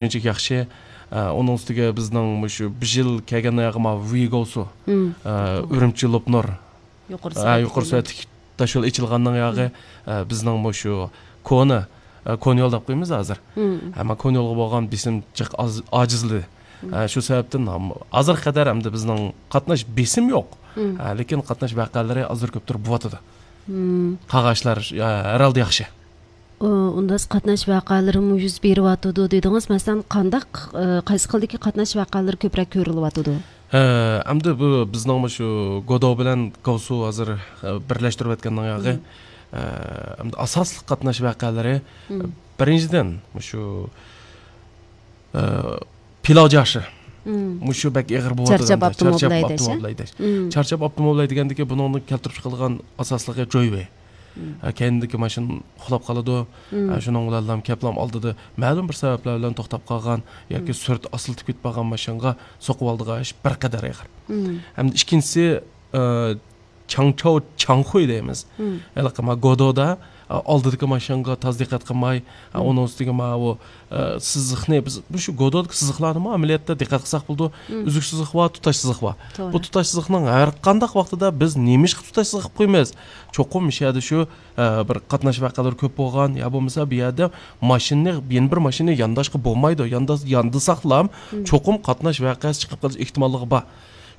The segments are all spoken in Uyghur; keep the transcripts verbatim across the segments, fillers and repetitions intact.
شۇنچىلىك ياخشى. ئە، ئۇنىڭ ئۈستىگە بىزنىڭ مۇشۇ بىر يىل كەلگەن ئاياغى ما ۋىگوسۇ، مم. ئە، ئۈرۈمچى لوپنۇر. يۇقىرى ئە، سۈرئەتلىك يۇقىرى سۈرئەتلىك تاشيول ئېچىلغاننىڭ ياغى، مم. ئە، بىزنىڭ مۇشۇ كونا، ئە، كونا يول دەپ قويىمىز ھازىر. مم. ئەمما كونا يولغا بولغان بېسىم جىق ئاز-، ئاجىزلىدى. مم. ئە، شۇ سەۋەبتىن ھازىرغا قەدەر ئەمدى بىزنىڭ قاتناش بېسىم يوق. مم. ئە، لېكىن قاتناش ۋەقەلىرى ئازدۇر كۆپتۇر بولۇۋاتىدۇ. مم. قالغان ئىشلار، ئە، ھەر ھالدا ياخشى. ئۇ، ئۇنداق قاتناش ۋەقەلىرىمۇ يۈز بېرىۋاتىدۇ دېدىڭىز. مەسىلەن، قانداق، ئە، قايسى خىلدىكى قاتناش ۋەقەلىرى كۆپرەك كۆرۈلۈۋاتىدۇ؟ ھە، ئەمدى بۇ بىزنىڭ مۇشۇ گودو بىلەن گاۋسۇ ھازىر، ئە، بىرلەشتۈرۈۋەتكەننىڭ ياغى. مم. ئە، ئەمدى ئاساسلىق قاتناش ۋەقەلىرى، مم. بىرىنچىدىن، مۇشۇ، ئە، پىلاۋ جاشى. مم. مۇشۇ بەك ئېغىر بولۇۋاتىدۇ چارچاپ ئەمدى. چارچاپ ئاپتوموبىل ھەيدەش، ئاپتوموبىل ھەيدەش. مم. چارچاپ ئاپتوموبىل ھەيدىگەندىكى بۇنىڭدىن كەلتۈرۈپ چىقىلغان ئاساسلىقى جويۋېي. مم. ھە، كەينىدىكى ماشىنا ئۇخلاپ قالىدۇ. مم. ھە، شۇنىڭ بىلەنلا كەپلام ئالدىدا مەلۇم بىر سەۋەبلەر بىلەن توختاپ قالغان ياكى مم. سۈرئىتى ئاستىلىتىپ كېتىپ قالغان ماشىنىغا سوقۇۋالىدىغان ئىش بىر قەدەر ئېغىر. مم. ھەمدە ئىككىنچىسى، ئە، چاڭچاۋ چاڭخۇي دەيمىز. مم. ھېلىقى ما گودودا، ئە، ئالدىدىكى ماشىنىغا تاز دىققەت قىلماي، ئە، مم. ئۇنىڭ ئۈستىگە ما ئۇ، ئە، سىزىقنى بىز، بۇ شۇ گودودىكى سىزىقلارنىمۇ ئەمەلىيەتتە دىققەت قىلساق بولىدۇ. مم. ئۈزۈك سىزىق بار، تۇتاش سىزىق بار. توغرا. بۇ تۇتاش سىزىقنىڭ ھەر قانداق ۋاقتىدا بىز نېمىشقا تۇتاش سىزىق قىلىپ قويىمىز؟ چوقۇم مۇشۇ يەردە شۇ، ئە، بىر قاتناش ۋەقەلىرى كۆپ بولغان، يا بولمىسا بۇ يەردە ماشىنىنى، يەنە بىر ماشىنىنى يانداشقا بولمايدۇ. ياندا-، ياندىساقلام، مم. چوقۇم قاتناش ۋەقەسى چىقىپ قېلىش ئېھتىماللىقى بار.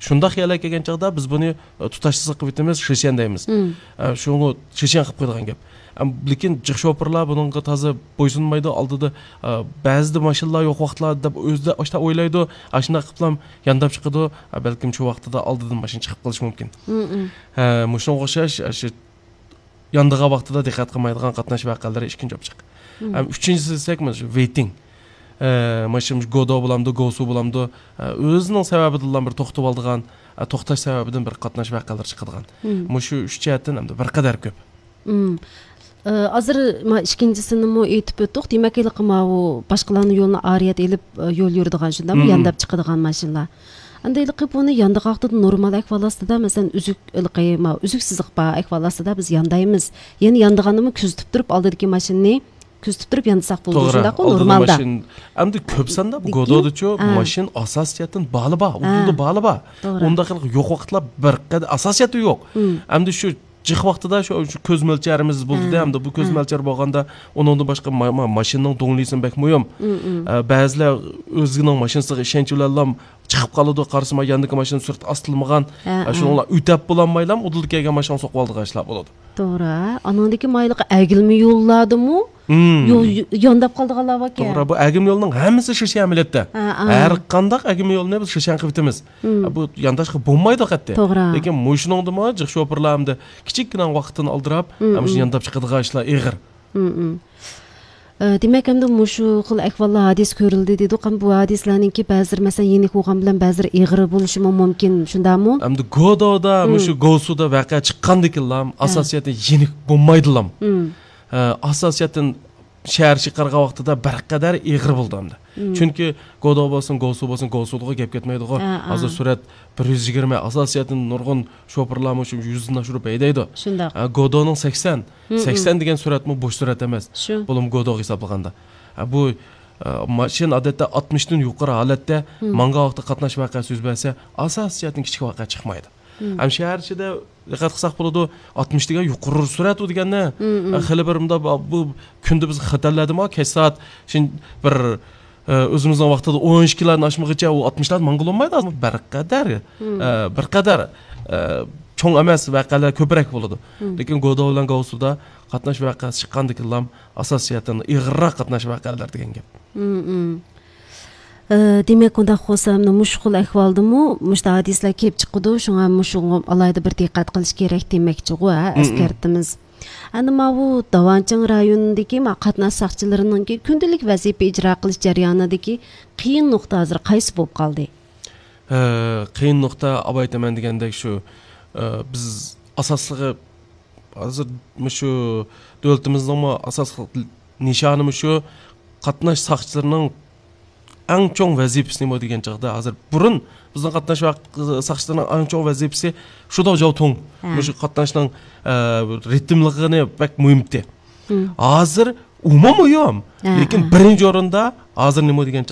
شۇنداق يەرلەرگە كەلگەن چاغدا بىز بۇنى، ئە، تۇتاش سىزىق قىلىۋېتىمىز، شىشيەن دەيمىز. مم. ئە، شۇنى شىشيەن قىلىپ قويىدىغان گەپ. ئەم، لېكىن جىق شوپۇرلار بۇنىڭغا تازا بويسۇنمايدۇ. ئالدىدا، ئە، بەزىدە ماشىنىلار يوق ۋاقىتلار دەپ ئۆزىدە ئاشتا ئويلايدۇ. ئاشۇنداق قىلىپلام يانداپ چىقىدۇ. ئە، بەلكىم شۇ ۋاقتىدا ئالدىدىن ماشىنا چىقىپ قېلىشى مۇمكىن. مم، مم. ھە، مۇشۇنىڭغا ئوخشاش، ئە، شۇ ياندىغان ۋاقتىدا دىققەت قىلمايدىغان قاتناش ۋەقەلىرى ئىككىنچى ئوبچېكت. مم. ھەم ئۈچىنچىسى دېسەك، مانا شۇ ۋېيتىڭ. ئە، مانا شۇ گودو بولامدۇ، گوسۇ بولامدۇ، ئە، ئۆزىنىڭ سەۋەبىدىنلا بىر توختىۋالىدىغان، ئە، توختاش سەۋەبىدىن بىر قاتناش ۋەقەلىرى چىقىدىغان. مم. مۇشۇ ئۈچ جەھەتتىن ئەمدى بىر قەدەر كۆپ. مم. ئە، ھازىر ما ئىككىنچىسىنىمۇ ئېيتىپ ئۆتتۇق. دېمەك، ھېلىقى ماۋۇ باشقىلارنىڭ يولىنى ئارىيەت ئېلىپ، ئە، يول يۈرىدىغان شۇنداقمۇ؟ مم. يانداپ چىقىدىغان ماشىنىلار. ئەمدى ھېلىقى بۇنى ياندىغان ۋاقتىدا نورمال ئەھۋال ئاستىدا، مەسىلەن، ئۈزۈك، ھېلىقى ما ئۈزۈك سىزىق بار ئەھۋال ئاستىدا بىز ياندايمىز. يەنە ياندىغاندىمۇ كۆزىتىپ تۇرۇپ، ئالدىدىكى ماشىنىنى كۆزىتىپ تۇرۇپ ياندىساق بولىدۇ، توغرا، شۇنداققۇ، ئالدىدا نورمالدا. ماشىنا. ئەمدى كۆپ ساندا بۇ لېكىن، گودودىچۇ ھە. ماشىنا ئاساسىيەتتىن بالى بار، ھە. ئۇدۇلدا بالى بار. توغرا. ئۇنداق يوق ۋاقىتلار بىر قەدەر ئاساسىيەتتە يوق. مم. ئەمدى شۇ جىق ۋاقتىدا شۇ، شۇ كۆز مۆلچەرىمىز بولدى-دە، ھە. ئەمدى بۇ كۆز ھە. مۆلچەر بولغاندا، ئۇنىڭدىن باشقا ما-، ما-، ماشىنىنىڭ دۇڭلىسىمۇ بەك مۇھىم. مم، مم. ئە، بەزىلەر ئۆزىنىڭ ماشىنىسىغا ئىشەنچ بىلەنلا چىقىپ قالىدۇ، قارىسا، ما ياندىكى ماشىنا سۈرئىتى ئاستىلىمىغان. ھە، ئە، ھە. شۇنىڭلا ئۆتەپ بولالمايلا ئۇدۇلدا كەلگەن ماشىنىغا سوقۇۋالىدىغان ئىشلار بولىدۇ. توغرا. ئانىڭدىكى مايلىقى ئەگىلمە يوللاردىمۇ مم. يول يانداپ قالىدىغانلار باركەن. توغرا، بۇ ئەگىم يولنىڭ ھەممىسى شىشيەن ئەمەلىيەتتە. ھە، ھە. ھەر قانداق ئەگىم يولنى بىز شىشيەن قىلىۋېتىمىز. مم. بۇ يانداشقا بولمايدۇ قەتئىي. توغرا. لېكىن مۇشۇنىڭدىمۇ جىق شوپۇرلار ئەمدى كىچىككىنە ۋاقىتتىن ئالدىراپ، مم، مۇشۇ مم. يانداپ چىقىدىغان ئىشلار ئېغىر. مم، مم. ئە، دېمەك، ئەمدى مۇشۇ خىل ئەھۋاللار، ھادىسە كۆرۈلدى دېدۇق. ئەمدى بۇ ھادىسىلەرنىڭكى بەزىلىرى، مەسىلەن، يېنىك بولغان بىلەن بەزىلىرى ئېغىر بولۇشىمۇ مۇمكىن، شۇنداقمۇ؟ ئەمدى گودودا، مم. مۇشۇ گوسۇدا ۋەقە چىققاندىكىنلا، ھە. ئاساسىيەتتە يېنىك بولمايدىلا. مم. ئە، ئاساسىيەتتىن شەھەر چىقارغان ۋاقتىدا بىر قەدەر ئېغىر بولدى ئەمدى. مم. چۈنكى گودو بولسۇن، گوسۇ بولسۇن، گوسۇدىغۇ گەپ كەتمەيدىغۇ. ھە، ھە. ھازىر سۈرئەت بىر يۈز يىگىرمە، ئاساسىيەتتىن نۇرغۇن شوپۇرلارمۇ شۇ يۈزدىن ئاشۇرۇپ ھەيدەيدۇ. شۇنداق. ھە، گودونىڭ سەكسەن، مم، مم. سەكسەن دېگەن سۈرئەتمۇ بوش سۈرئەت ئەمەس. شۇ. بولۇمۇ گودوغا ھېسابلىغاندا. ھە، بۇ، ئە، ماشىنا ئادەتتە ئاتمىشتىن يۇقىرى ھالەتتە مم. ماڭغان ۋاقىتتا قاتناش ۋەقەسى يۈز بەرسە، ئاساسىيەتتىن كىچىك ۋەقە چىقمايدۇ. مم. ھەم شەھەر ئىچىدە دىققەت قىلساق بولىدۇ، ئاتمىش دېگەن يۇقىرى سۈرئەت ئۇ دېگەننى. مم، مم. ئە، خېلى بىر مۇنداق بۇ، بۇ كۈندە بىز خوتەنلەردىمۇ كەچ سائەت شۇ بىر، ئە، ئۆزىمىزنىڭ ۋاقتىدا ئون ئىككىلەردىن ئاشمىغىچە ئۇ ئاتمىشلاردا ماڭغىلى بولمايدۇ. بىر قەدەر، مم. ئە، بىر قەدەر، ئە، چوڭ ئەمەس ۋەقەلەر كۆپرەك بولىدۇ. مم. لېكىن گودو بىلەن گاۋسۇدا قاتناش ۋەقەسى چىققاندىكىنلا ئاساسىيەتتىن ئېغىرراق قاتناش ۋەقەلەر دېگەن گەپ. مم، مم. ئە، دېمەك، ئۇنداق بولسا، مۇشۇ خىل ئەھۋالدىمۇ مۇشۇنداق ھادىسىلەر كېلىپ چىقىدۇ، شۇڭا مۇشۇغا ئالاھىدە بىر دىققەت قىلىش كېرەك دېمەكچىغۇ، ھە، مم، مم. ئەسكەرتىمىز. ئەنە ماۋۇ داۋانچىڭ رايونىدىكى ما قاتناش ساقچىلىرىنىڭكى كۈندىلىك ۋەزىپە ئىجرا قىلىش جەريانىدىكى قىيىن نۇقتا ھازىر قايسى بولۇپ قالدى؟ ئە، قىيىن نۇقتا، ئاۋايتىمەن دېگەندەك شۇ، ئە، بىز ئاساسلىقى ھازىر مۇشۇ دۆلىتىمىزنىڭمۇ ئاساسلىق نىشانى مۇشۇ قاتناش ساقچىلىرىنىڭ ئەڭ چوڭ ۋەزىپىسى نېمە دېگەن چاغدا، ھازىر بۇرۇن بىزنىڭ قاتناش ۋە ساقچىلىرىنىڭ ئەڭ چوڭ ۋەزىپىسى شۇداۋ جاۋتۇڭ، ھە. مۇشۇ قاتناشنىڭ، ئە، رىتىملىقىنى بەك مۇھىم ئىدى. مم. ھازىر ئۇمۇ مۇھىم. لېكىن بىرىنچى ئورۇندا ھازىر نېمە دېگەن